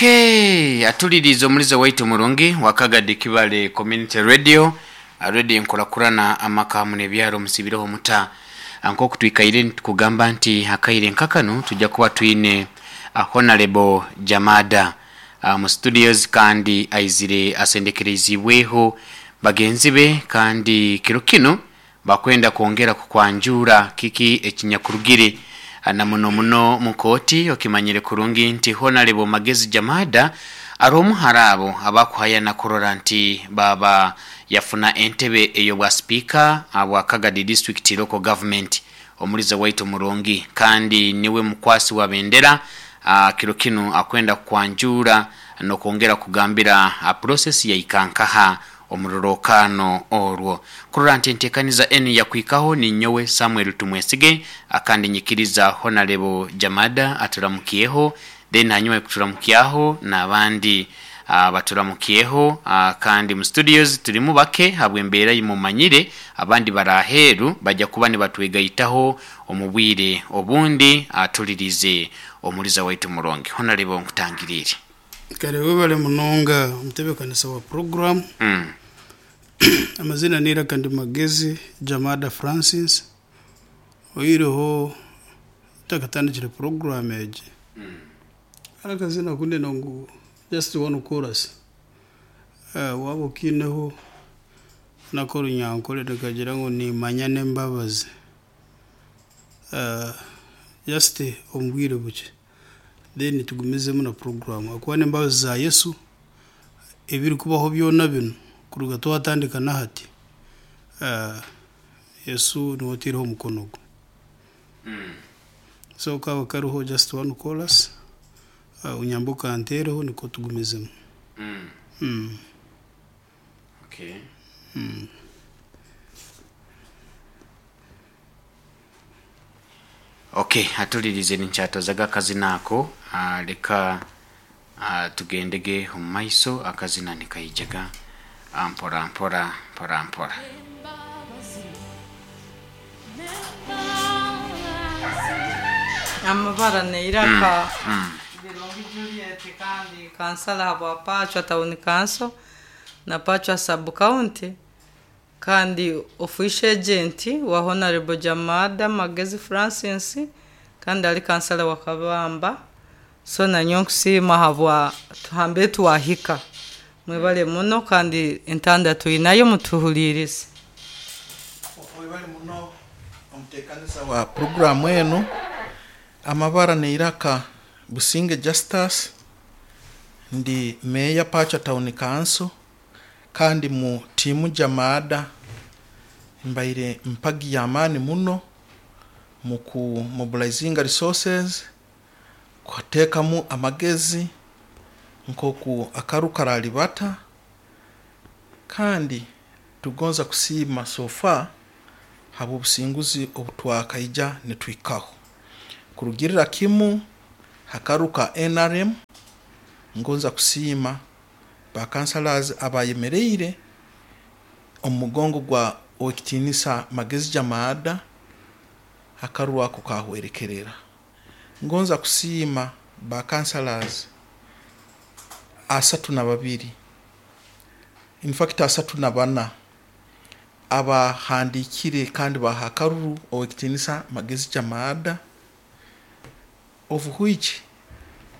Okay, atuliriize omulize waitu omurungi wa Kagadi Kibale Community Radio, Radio enkurakurana amaka hamu n'ebyaro musibireho muta. Nk'oku twikaire nitukugamba nti akaire nka kanu tujja kuba twine Honarebo Jamada mu studios kandi aizire asendekereiziibweho bagenzi be kandi kiro kinu Bakwenda kwongera kukwanjuura kiki ekinyakurugire na muno muno mu kooti. Okimanyire kurungi nti Honalebo Magezi Jamada ari omu hali abo abakuhayana kurora nti baaba yafuna entebe ey'obwa sipiika bwa Kagadi District Local Government omulize waitu omurungi kandi niwe mukwasi wa bendera kiro kinu akwenda kukwanjuura nokwongera kugambira process yaika nkaha omu rurookaano orwo. Kurora nti enteekaniza enu yakuhikaho ninyowe Samuel Tumwesige akandi nyikiriza Honarebo Jamada aturamukyeho then hanyuma yokuturamukyaho nabandi baturamukyeho kandi mu studios turimu bake habwembeera eyimumanyire abandi bari aheeru baja kuba nibatwegaitaho omu bwire obundi tulirize omuliza waitu murungi. Honarebo nkutangiriire. Kare webale munonga omutebekanisa wa puroguramu. Amazina n'eiraka ndi Magezi Jamada Francis. Oihireho ntakatandikire puroguramu egi, hariho akazina aku ndenda ngu just one chorus waaba okiineho n'ak'orunyankore nikagira ngu nimanya n'embabazi just omu bwire bukye. Then tugumizemu na puroguramu ahakuba n'embabazi za Yesu ebirikubaho byona binu kuruga twatandika nahati Yesu niwe otaireho omukono gwe. So kaaba kariho just one chorus onyambe okanteereho nikwo tugumizemu. Okay. Ok atulirize ninkyatozaga akazina ako leka tugendege omu maiso akazina nikaijaga mpora mpora mpora mpora. Amabara n'eiraka Birungi Juliet kandi kansala habwa Pachwa Town Council na Pachwa Sub County Kandi Official Agent wa Honarebo Jamada Magezi Francis kandi ari kansala wa Kabamba so nanyowe nkusiima ahabwa hambere twahika. Mwebale muno kandi entanda twinayo mutuhuliirize. Webale muno omuteekaniza wa puroguraamu enu. Amabara n'eiraka Businge Justus, ndi Meeya Pachwa Town Council. Kandi mu tiimu Jamaada mbaire mpagi y'amaani muno mu ku mobilizinga resources, kuteekamu amagezi nk'oku akaru karaalibata kandi tugonza kusiima so far habw'obusinguzi obu twakaija nituhikaho. Kurugirra kimu ha karu ka nrm, ngonza kusiima Ba councillors abayemereire omu mugongo gwa Owekitinisa Magezi Jamaada akaruru ako kahwerekerera. Ngonza kusiima ba councillors 32 in fact 34 abahandiikire kandi baha akaruru Owekitinisa Magezi Jamaada of which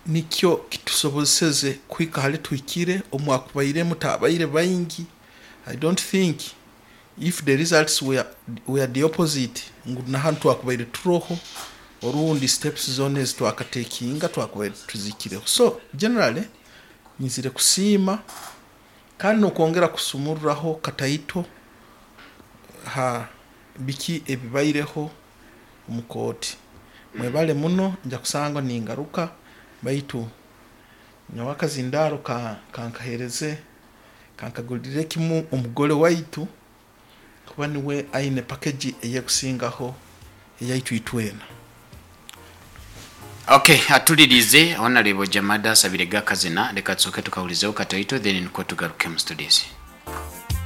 Nikyo kitusobozeseze kuhika hali tuhikire, omwakubairemu taabaire baingi, I don't think if the results were, were the opposite ngu na hanu twakubaire turoho orundi steps zoona ezi twakatekinga twakubaire tuzihikireho. So generally nyizire kusiima kandi n'okwongera kusumurraho kataito ha biki ebibaireho omu kooti. Mwebale muno, nja kusangwa ningaruka baitu nyowe akazindaaro kankaheereze kankagulire kimu omugole waitu kuba niwe aine pakeji ey'ekusingaho eyaitu itwena. Ok atulirize Honarebo Jamada asabire ga akazina reka tusooke tukahulizeho katoito then nikwo tugaruke mu studios.